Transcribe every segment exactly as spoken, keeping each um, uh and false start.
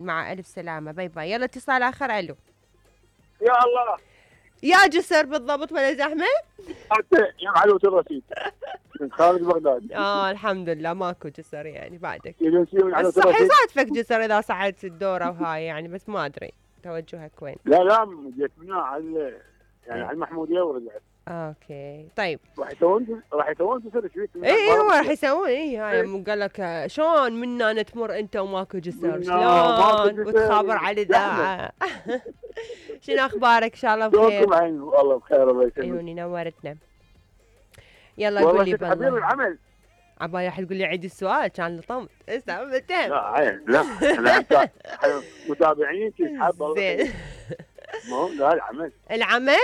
مع الف سلامه، باي باي. يلا اتصال اخر. الو. يا الله يا جسر بالضبط ولا زحمه؟ حتى يا معلومة الرصيد من خارج بغداد. اه الحمد لله ماكو جسر يعني بعدك. بس صح يصادفك جسر اذا صعدت الدوره وهاي يعني، بس ما ادري توجهك وين. لا لا جيت منها على يعني على المحموديه ورجعت. اوكي طيب. راح يسوون راح يسوون جسر شوي. اي هو راح يسوون. اي هاي قال لك شلون منا تمر انت وماكو جسر، شلون وتخابر على الاذاعه. شنو اخبارك؟ ان شاء الله بخير. والله بخير الله يسلمك. عيوني نورتنا. يلا قول لي بالله حبيب العمل. عبالي راح تقول لي عيد السؤال كان لطمت. اسمع متهم. لا عين لا احنا متابعين تسحب. زين. مو لا العمل العمل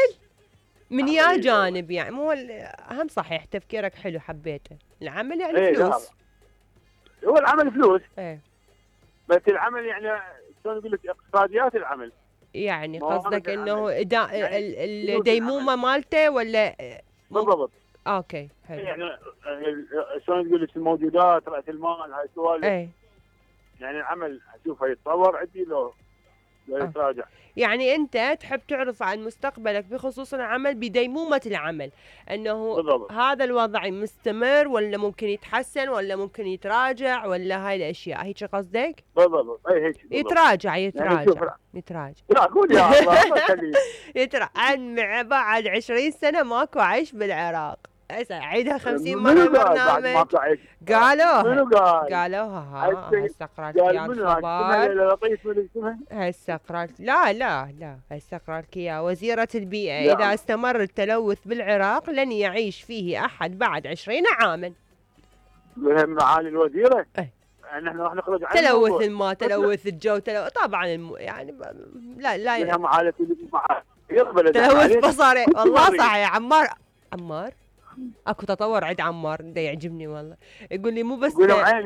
من يا جانب يعني مو اهم. صحيح تفكيرك حلو حبيته. العمل يعني ايه فلوس. هو العمل فلوس. ايه بس العمل يعني شلون اقول لك اقتصاديات العمل. يعني قصدك انه يعني الديمومه مالته ولا بالضبط. اوكي حلو. يعني شلون تقول لك الموجودات راس المال هاي السوالف. اي يعني العمل اشوفه يتطور عندي لو لو يتراجع. يعني انت تحب تعرف عن مستقبلك بخصوص العمل بديمومه العمل، انه بالضبط. هذا الوضع مستمر ولا ممكن يتحسن ولا ممكن يتراجع ولا هاي الاشياء، هيك قصدك؟ بالضبط. اي هيك بالضبط. يتراجع يتراجع يعني يتراجع. لا قول يا الله. يتراجع. عن بعد عشرين سنه ماكو عيش بالعراق. هسه عيدها خمسين مره برنامج. قالوا منو قال؟ قالوها. ها هسه قرأت يا الخبر. هسه قرأت. لا لا لا هسه قرأت يا وزيرة البيئة. إذا استمر التلوث بالعراق لن يعيش فيه أحد بعد عشرين عاما. معالي الوزيرة؟ اي نحن راح نخرج عن تلوث الماء، تلوث الجو، تلوث طبعا الم... يعني لا لا يعني معالي تلوث بصري. والله صح يا عمار. عمار اكو تطور عند عمار ده يعجبني والله. يقول لي مو بس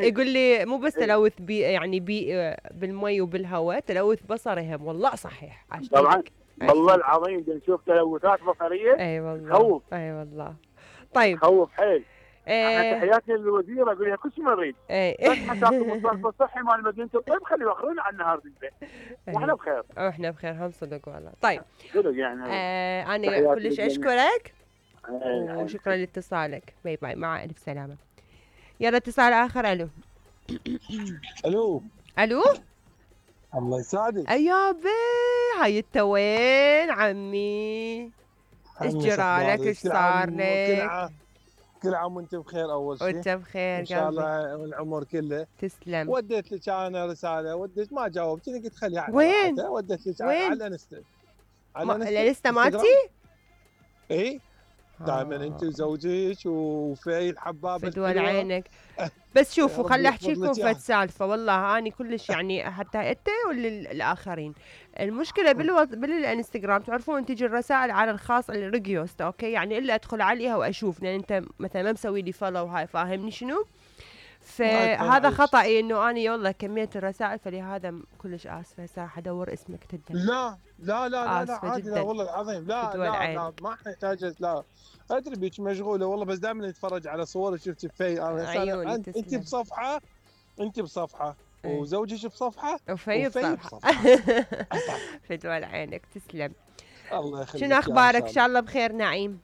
يقول لي مو بس تلوث بي يعني بي بالمي وبالهواء، تلوث بصري هم. والله صحيح طبعا والله العظيم بنشوف تلوثات بصريه. اي والله خوف. اي والله. طيب خوف حيل. احنا تحياتنا للوزيره اقول لها كل شيء نريد. بس حساب المصرف الصحي مال مدينه الطيب خلي يوخرون عنا النهار بالبيت. واحنا بخير. واحنا بخير هم صدق والله. طيب صدق يعني. آه انا كلش اشكرك وشكرا لاتصالك. باي باي مع الف سلامه. يلا اتصال اخر. الو. الو. الو. الله يسعدك. ايابي هاي انت وين عمي؟ ايش جرالك؟ ايش صار لك؟ كل عام وانت بخير. اول شيء وانت بخير ان شاء الله والعمر كله. تسلم. وديت لك انا رساله، وديت ما جاوبتني قلت خليها على وين؟ وديت لك على الانستا. على الانستا مالتي؟ اي دائما انت وزوجك وفي الحبابه فدول عينك. بس شوفوا خلي احكي لكم فد سالفه والله اني كلش يعني حتى انت وللاخرين. المشكله بالو... بالانستغرام تعرفون تجي الرسائل على الخاص الريكوست اوكي، يعني الا ادخل عليها واشوف لان انت مثلا ما مسوي لي فولو هاي فاهمني شنو؟ فهذا خطأي انه اني والله كميت الرسائل، فلهذا كلش اسفه. هسه راح ادور اسمك تدري. لا لا لا لا عادي. لا والله العظيم لا لا, لا ما نحتاج. لا ادري بيك مشغوله والله، بس دائما نتفرج على صور شفت في انا انت, انت بصفحه انت بصفحه وزوجك بصفحه وفي بصفحه. فدول عينك تسلم. الله يخليك. شنو اخبارك؟ ان شاء الله بخير نعيم.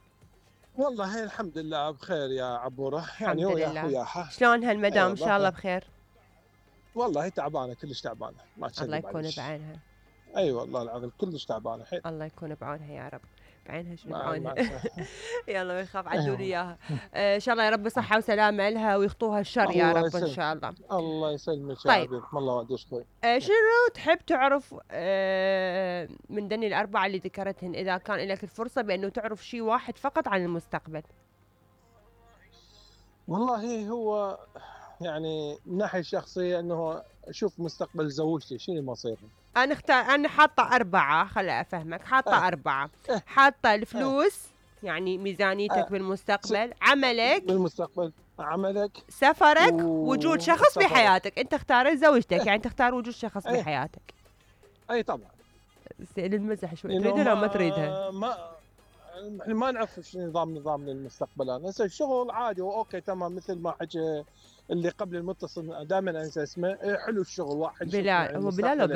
والله الحمد لله بخير يا عبوره. الحمد يعني لله. شلون هالمدام؟ ان شاء الله بخير. والله تعبانه كلش تعبانه ما الله يكون بعينها. اي أيوة والله العظيم كلش تعبانه حيل. الله يكون بعونها يا رب. بعينها شنو بعونها. يلا ما يخاف عدوا لي اياها. ان شاء الله يا رب صحه وسلامه لها ويخطوها الشر يا رب يسلم. ان شاء الله. الله يسلمك يا طيب. حبيبي الله وديش خوي. شنو تحب تعرف من دني الاربعه اللي ذكرتهن اذا كان لك الفرصه بانه تعرف شيء واحد فقط عن المستقبل؟ والله هو يعني من ناحيه شخصيه انه اشوف مستقبل زوجتي شنو مصيره. انا اختار انا حاطه اربعه. خلي افهمك حاطه أه. اربعه. أه. حاطه الفلوس أه. يعني ميزانيتك أه. بالمستقبل، عملك بالمستقبل، عملك، سفرك، و... وجود شخص سفرك. بحياتك. انت اختار زوجتك. أه. يعني تختار وجود شخص أه. بحياتك. اي طبعا. للمزح شوي تريدها ولا ما تريدها؟ ما احنا ما نعرف شو نظام نظام للمستقبل. انا هسه الشغل عادي اوكي تمام مثل ما حكى اللي قبل المتصل دائما انسى اسمه، حلو الشغل واحد بلال. هو بلال